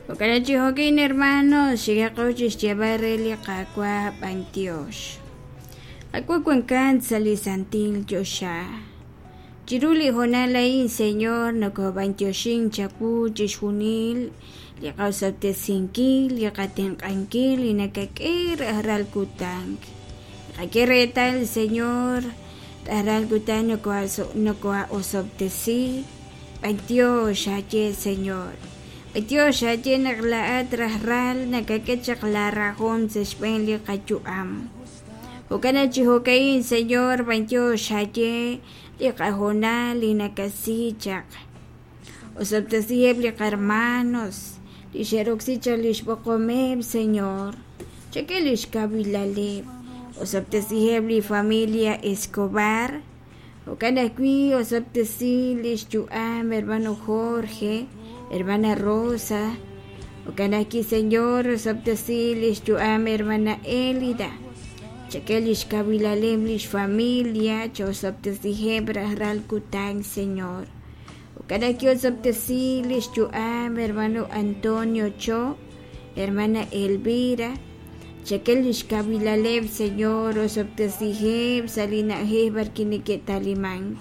Jo'kan chi jo'kin hermanos, xikaqo chi xyeeb'al re li Qaawa' b'antiox. Qaawa' wankat sa' li santil choxa. Chiru li hoonal a'in, Señor, nokob'antioxin chawu chixjunil li qaosob'tesinkil, li qatenq'ankil, li nakak'e rajlal kutan. Naqak'e reetal, Señor, rajlal kutan nokoha'osob'tesi. B'antiox aaye, Señor. B'antiox aaye naq laa'at rajlal nakak'e chaq laa rajom sa' xb'een li qayu'am. Jo'kan naq chi jo'ka'in, Señor, b'antiox aaye li qahoonal li nakasi chaq. Osob'tesiheb' li qarmanos li xe'roksi chaq lix b'oqomeb', Señor. Chak'e lix kawilaleb'. Osob'tesiheb' li familia Escobar. Jo'kan ajwi' osob'tesi lix yu'am hermano Jorge, hermana Rosa. Jo'kan ajwi', Señor, osob'tesi lix yu'am hermana Elida. Chak'e lix kawilaleb' lix familia, cha'osob'tesiheb' rajlal kutan, Señor. Jo'kan ajwi' osob'tesi lix yu'am hermano Antonio Cho, hermana Elvira. Chak'e lix kawilaleb', Señor, osob'tesiheb' sa' li na'ajej b'arwi' neke'talimank.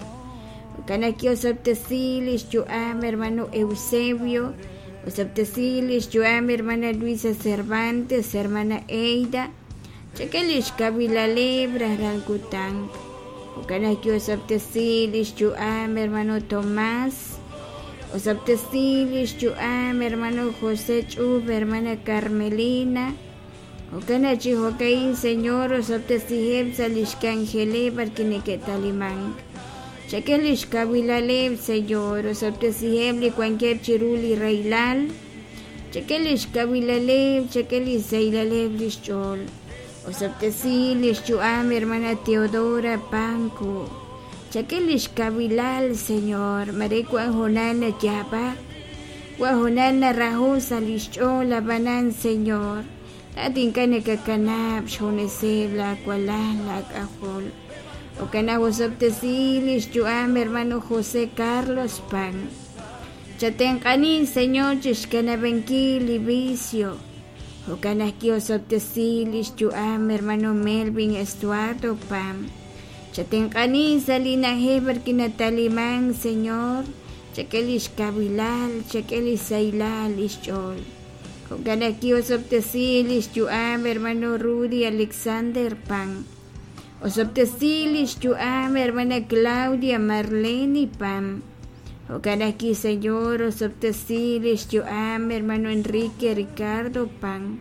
Jo'kan ajwi' osob'tesi lix yu'am hermano Eusebio, osob'tesi lix yu'am hermana Luisa Cervantes, hermana Eida. Chak'e lix kawilaleb' rajlal kutan. Jo'kan ajwi' osob'tesi lix yu'am hermano Tomás, osob'tesi lix yu'am hermano José Ch'ub, hermana Carmelina. Jo'kan naq chi jo'ka'in, Señor, osob'tesiheb' sa' lix k'anjeleb' b'arwi' neke'talimank. Chak'e lix kawilaleb', Señor, osob'tesiheb' li wankeb' chiru li rahilal. Chak'e lix kawilaleb', chak'e lix sahilaleb' lix ch'ool. Osob'tesi lix yu'am hermana Teodora Panco. Chak'e lix kawilal, Señor, mare wan hoonal nayaab'ak, wan hoonal naraho' sa' lix ch'ool, ab'anan, Señor, laa'at ink'a' nakakanab' xjuneseb' laa walal laa k'ajol. Jo'kan naq osob'tesi lix yu'am hermano José Carlos Pan. Chatenq'ani, Señor, chixkanab'ankil li vicio. Jo'kan ajwi' osob'tesi lix yu'am hermano Melvin Estuardo Pam. Chatenq'ani sa' li na'ajej b'arwi' natalimank, Señor, chak'e lix kawilal, chak'e lix sahilal lix ch'ool. Jo'kan ajwi' osob'tesi lix yu'am hermano Rudy Alexander Pam. Osob'tesi lix yu'am hermana Claudia Marlene Pam. Jo'kan ajwi', Señor, osob'tesi lix yu'am hermano Enrique Ricardo Pam.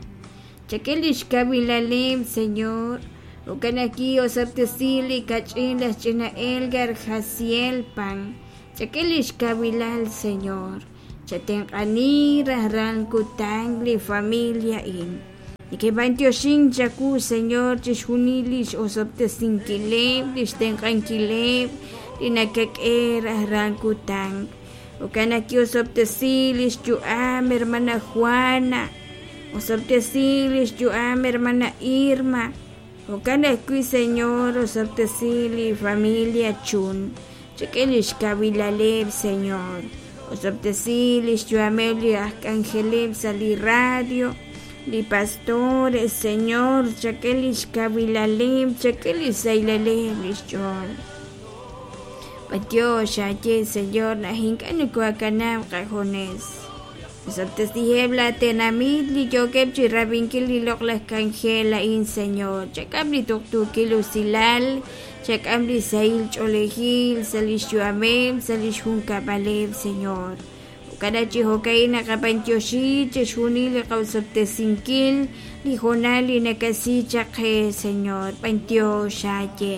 Chak'e lix kawilaleb', Señor. Jo'kan ajwi' osob'tesi li kach'in laj ch'ina Elgar Jaciel Pam. Chak'e lix kawilal, Señor. Chatenq'ani rajlal kutan li familia a'in. Neke'b'antioxink chawu, Señor, chixjunil lix osob'tesinkileb', lix tenq'ankileb' li nakak'e rajlal kutan. Jo'kan naq ki'osob'tesi lix yu'am hermana Juana, osob'tesi lix yu'am hermana Irma. Jo'kan ajwi', Señor, osob'tesi li familia Chun. Chak'e lix kawilaleb', Señor. Osob'tesi lix yu'ameb' li aj k'anjeleb' sa' li radio, li pastores, Señor, chak'e lix kawilaleb', chak'e lix sahilaleb' lix ch'ool. B'antiox aaye, Señor, naq ink'a' nokohakanab' qajunes. Osob'tesiheb' laa tenamit li yookeb' chirab'inkil li loq'laj k'anjel a'in, Señor. Chak'am li tuqtuukil usilal, chak'am li sahil ch'oolejil sa' lix yu'ameb', sa' lix junkab'aleb', Señor. Jo'kan naq chi jo'ka'in naqab'antioxi chixjunil li qa'osob'tesinkil li hoonal li nakasi chaq qe, Señor. B'antiox aaye.